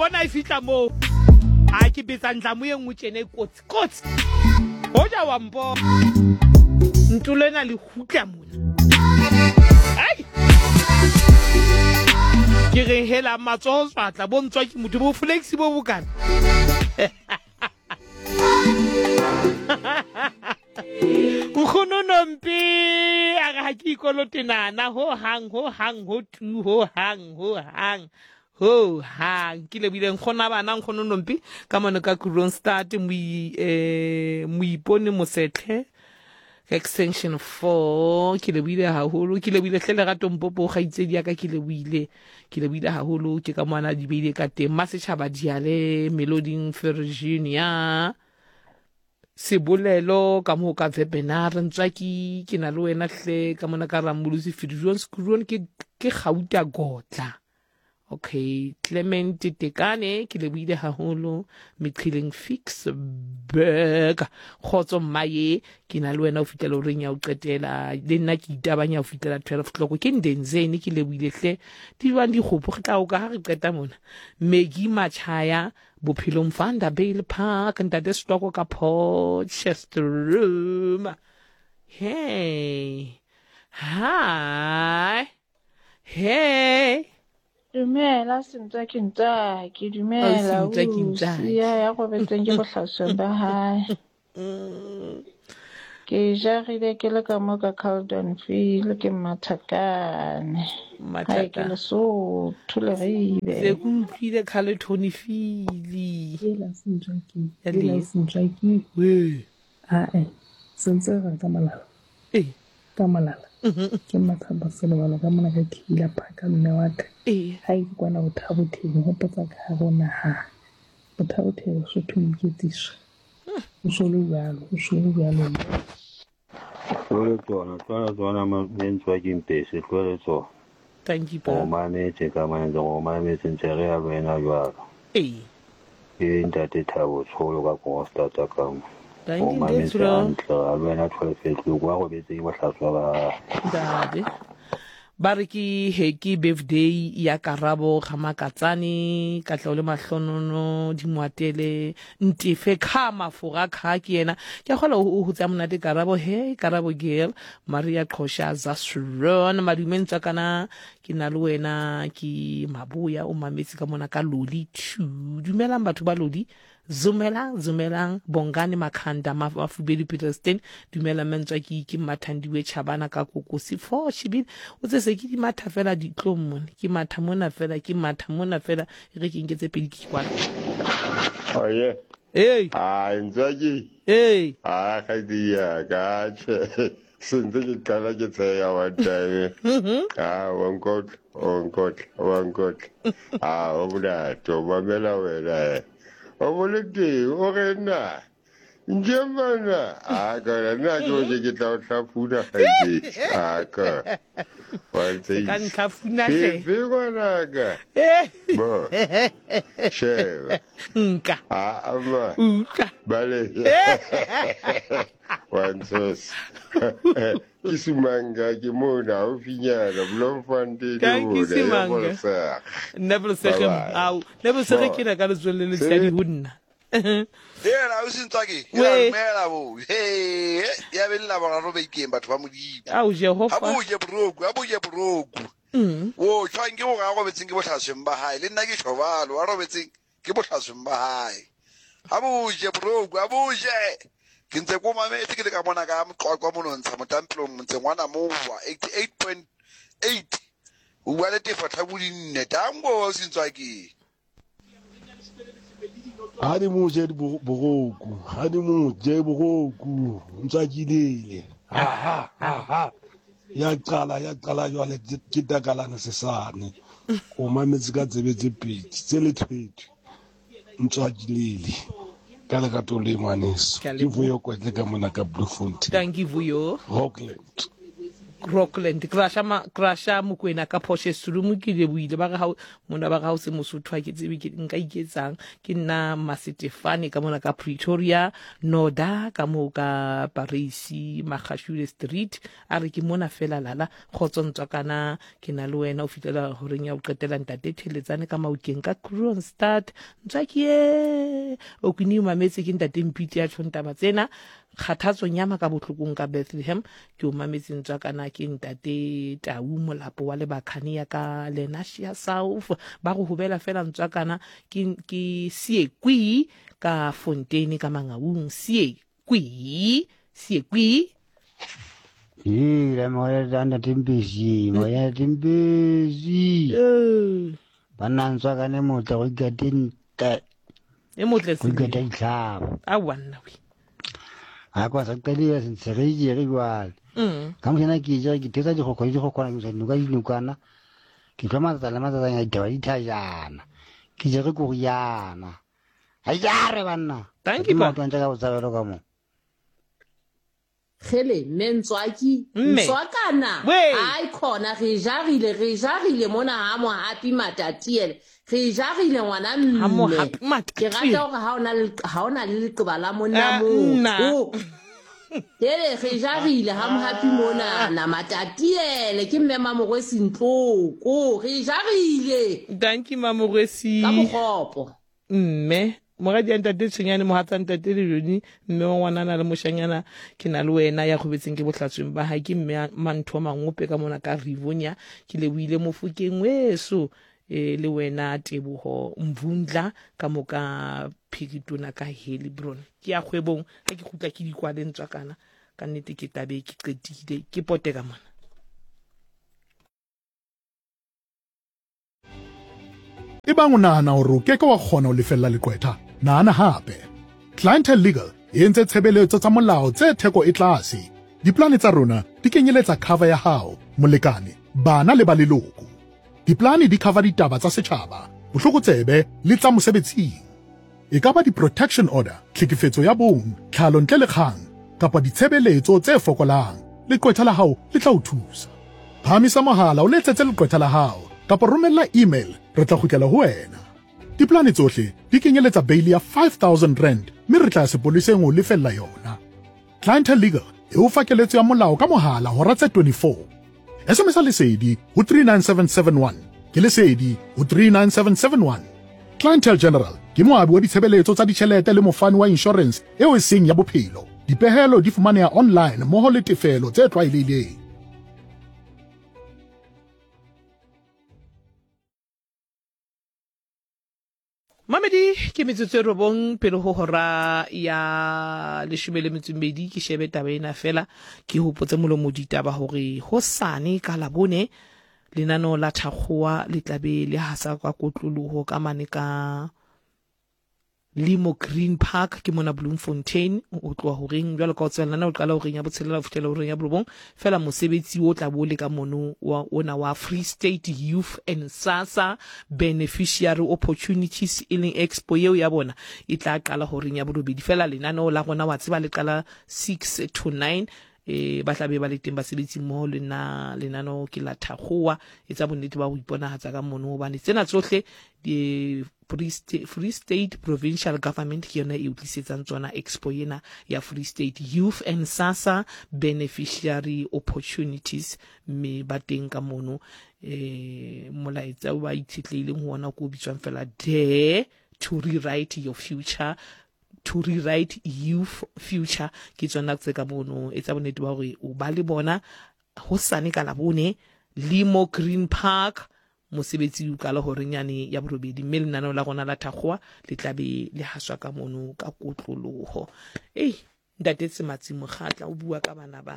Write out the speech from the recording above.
bona e fihla moo a ke betsa ntlamo ye nngwe tjena e kotsi kotsi hoja wa mpo ntolo ena le kgutla mona ai ke re hela matsoho tswatla bo ntswa ke motho bo flexi bo bokana Nkgono Nompe a re ha ke ikolote nana ho hang ho hang ho tu ho hang ho hang ho hang ke lebile nkgona bana nkgono Nompe ka mono ka Kroonstad eh, moipone mosetlhe ka extension 4 ke lebohile haholo ke lebohile hle lerato mpopo kgaitsedi ya ka ke lebohile ke lebohile haholo ke ka moana di beile ka teng masetšhaba diale meloding virginia Sebolelo ka moo ka Webinar Ntswaki ke na le wena hle ka mona ka Rammolosi Fidijon Skruon ke ke Gauta Gotla okay Clement Tekane ke lebohile haholo Meqheleng Fix Burger kgotso mmaye ke na le wena o fitlela o reng ya o qetela le nna ke itabanya o fitlela 12 o'clock ke Ndenzeni ke lebohile hle di jwang dikgopo re tla o ka ha re qeta mona Maggie Machaya Bophelong Vanderbijl Park, Ntate Stoko ka Potchefstroom. Hey. Hi. Hey. Dumela Sentswaki Ntswaki, dumela Oh, Sentswaki Ntswaki. Sia ya robetseng ke bohlasweng ba hae. Ke jarile ke le ka mo ka Caldonville ke Mmathakane. Hae ke Lesotho Leribe. Se ke utlwile khale Tony Fili. Ela Sentswaki, ela Sentswaki. Wee. Ae, sentse re ka molala. Ee. Ka molala. Ke Mmathabo Selebalo ka mona ka Killer Park mme wa ka. Ee. Hae ke kwana Bothabotheng hopotsa ka hare ho naha. Bothabotheng Lesotho Moiketsiso. O so le bjalo, o so le bjalo. Tlohele tsona, tlohela tsona mentswe ke mpese, tlohele tsona. Thank you, O mametse ka mane, o mametse ntse re ya le wena jwalo. Ee. Ke ntate Thabo Tsholo ka Kroonstad ka mo. Thank O you, mametse Ntate Tsholo. hantle, a le wena 12 o'clock, wa robetse ke bohlaswa ba. Ntate. Ba re ke happy birthday ya Karabo Gamakatsane, Katlego le Mahlonono, Dimoatele, Ntefe Kha Mafora Kha ke yena. Ke a kgolwa o hotse a monate Karabo, hey Karabo girl, Maria Qhosha Zasron, Madume Ntswakana, ke na le wena ke Maboya o mametse ka mona ka Loli 2. Dumelang batho ba Lodi. Zumelang, zumelang, Bongani Makhanda, Mafubelu Peterston, dumela mme Ntswaki, ke Mmathandiwe Chabana ka Kokosi fo shebile. O tse se ke di matha fela ditlong mone, ke matha mona fela, ke matha mona fela, e re ke nke tse pedi ke kwala. Oye. Hey. Ai, Ntswaki. Hey. Ah, kgaitsedi ya ka, tjhe. Sentse ke qala ke tsheya one time. Ah, wa nkotla, wa nkotla, wa nkotla. Ah, o monate, o mamela wena eh. O bole teng, o re na. Nje mana. Ah, ka nna ke o ke tla o hlafuna kgaitsedi. Ah, ka. Wa ntse. Ka ntlhafuna hle. Ke ngwanaka. Bo. Sheba. Nka. Ah, ama. Utlwa. Bale. Wa ntshosa. Ke Sumanga ke mona haufinyana Bloemfontein Thank you, mona Simanga. Nebelseg. Nebelseg Bye-bye. ao Nebelseg ke na ka letswele le letshadi ho nna. Hela o sentswake ke la Wee. dumela bo he ya be le la boraro bekeng batho ba modimo Ao Jehova. a bo je boroku a bo je boroku o tshwang ke gore a robetseng ke bohlasweng ba hae le nna ke tjho jwalo a robetseng ke bohlasweng ba hae a bo je boroku a bo je ke ntse ko mametse ke le ka mona ka moqwaqwa monontsha motampelong motseng wa Namowa 88.8 o bua le tefo tlhabodinne tango o sentswake Ha di mo je boroku, ha di mo je boroku, ntswakilele. Ha ha ha ha. Ya qala ya qala jwale ke takalane sesane. O mametse ka tsebe tse pedi tse lethwethwe. Ntswakilele. Ka lerato le ngwaneso. Ke a Ke leboha. Vuyo Kwetle ka mona ka Bloemfontein. Thank you Vuyo. Rockland. Rockland Crusher ma Crusher Mokwena ka Potchefstroom ke lebohile ba re ha mona ba re ha o se Mosotho ha ke tsebe ke nka iketsang ke nna Masetefane ka mona ka Pretoria Noda ka moo ka Paris Magashule Street a re ke mona fela lala kgotso ntswakana ke na le wena o fitlela horeng ya o qetela ntate Theletsane ka Maokeng ka Kroonstad ntswakie o kini o mametse ke ntate Mpiti ya tjhong taba tsena Kgathatso Nyama ka bohlokong ka Bethlehem ke o mametse ntswakana ke ntate Tau Molapo wa Lebakhane ya ka Lenasia South ba go hobela fela ntswakana ke ke Siekwi ka Fontein ka Mangaung Siekwi Siekwi. Hela moya ntate Mpesi moya ntate Mpesi banna ntswakane motle go ikate ntle E motle go ikata ditlhabo aowa nna we ga kwa sa qadile sentshegejere jwale ka mošana ke jere ke thetsa dikgokgo le dikgokgwana ke sa dinoka dinokana ke tlwa matsatsa le matsatsanya ditaba di thajana ke jere koriana ga jare banna Thank you, pa. maotwantša ka botsabelo ka mo. Kgele, mme Ntswaki, Mme. Ntswakana, Wee. hai khona re jarile, re jarile mona ha Mohapi Matatiele. Re jarile ngwana Ha mme. Mohapi Ke Matatiele. rata hore ha ona le ha ona le leqeba la monna Ah, nna. motho. Hele re jarile ha Mohapi mona na Matatiele ke mme Mamorwesi Ntloko. Re jarile. Dankie Mamorwesi. Ka bokgopo. Mme moradi ya ntate Tshwenyane, mohatsa ntate Lejoni, mme wa ngwanana le moshanyana, ke na le wena ya kgobetseng ke bohlatsweng ba hae, ke mme Mantho Mangope ka mona ka Rivonia, ke lebohile Mofokeng weso, e, le wena Teboho Mvundla ka mo ka Phiritona ka Helibron. Ke ya kgwebong, ha ke kgutla ke dikwale ntswakana, ka nnete ke tlabe ke qetile, ke pote ka mona. Ebang o nahana hore o ke ke wa kgona ho lefella leqwetha, nahana hape. Clientele Legal e entse tshebeletso tsa molao tse theko e tlase. Diplane tsa rona di kenyeletsa cover ya hao, molekane, bana le ba leloko. Diplane di cover ditaba tsa setjhaba, bohlokotsebe le tsa mosebetsing. E ka ba di-protection order, tlhekefetso ya bong, tlhalo ntle le kgang, kapa ditshebeletso tse fokolang, leqwetha la hao le tla o thusa. Phahamisa mohala o letsetse leqwetha la hao kapa romella email re tla kgutlela ho wena. Diplane tsohle di kenyeletsa beili ya R5000 mme re tla ya sepoleseng ho o lefella yona. Clientele Legal e o fa keletso ya molao ka mohala hora tse 24. SMS-a Lesedi ho 39771. Ke Lesedi ho 39771. Clientele General ke moabi wa ditshebeletso tsa ditjhelete le mofani wa inshorense eo e seng ya bophelo. Dipehelo di fumaneha online mmoho le tefelo tse tlwaelehileng. Mamedi ke metsotso e robong pele ho hora ya leshome le metso mmedi ke shebe taba ena fela ke hopotse molomo ditaba hore hosane ka labone lenaneo la thakgowa le tlabe le hasa ka kotloloho ka mane ka Limo Green Park ke mona Bloemfontein o tloha horeng jwalo ka o tseba lenaneo qala horeng ya botshelela ho fihlela horeng ya borobong fela mosebetsi o tla bo le ka mono wa ona wa Free State Youth and SASSA Beneficiary Opportunities e leng expo eo ya bona e tla qala horeng ya borobedi fela lenaneo la rona wa tseba le qala 6 to 9 e ba tla be ba le teng basebetsi mmoho le nna lenaneo ke la thakgowa etsa bonnete ba go iponagatsa ka mono gobane tsena tsohle di Free State Provincial Government ke yona e o tlisetsang tsona expo ena ya Free State Youth and SASSA Beneficiary Opportunities mme ba teng ka mono eh molaetsa o ba itshetlehileng ho ona ko o bitswang fela Dare to Rewrite Your Future to Rewrite Youth Future ke tsona tse ka mono etsa bonnete ba hore o ba le bona hosane ka Labone Limo Green Park Mosebetsi o qala horeng yane ya borobedi mme lenaneo la rona la Thakgowa le tla be le haswa ka mono ka kotloloho. Ei, Ntate Tsematsi Mokgatla o bua ka bana ba.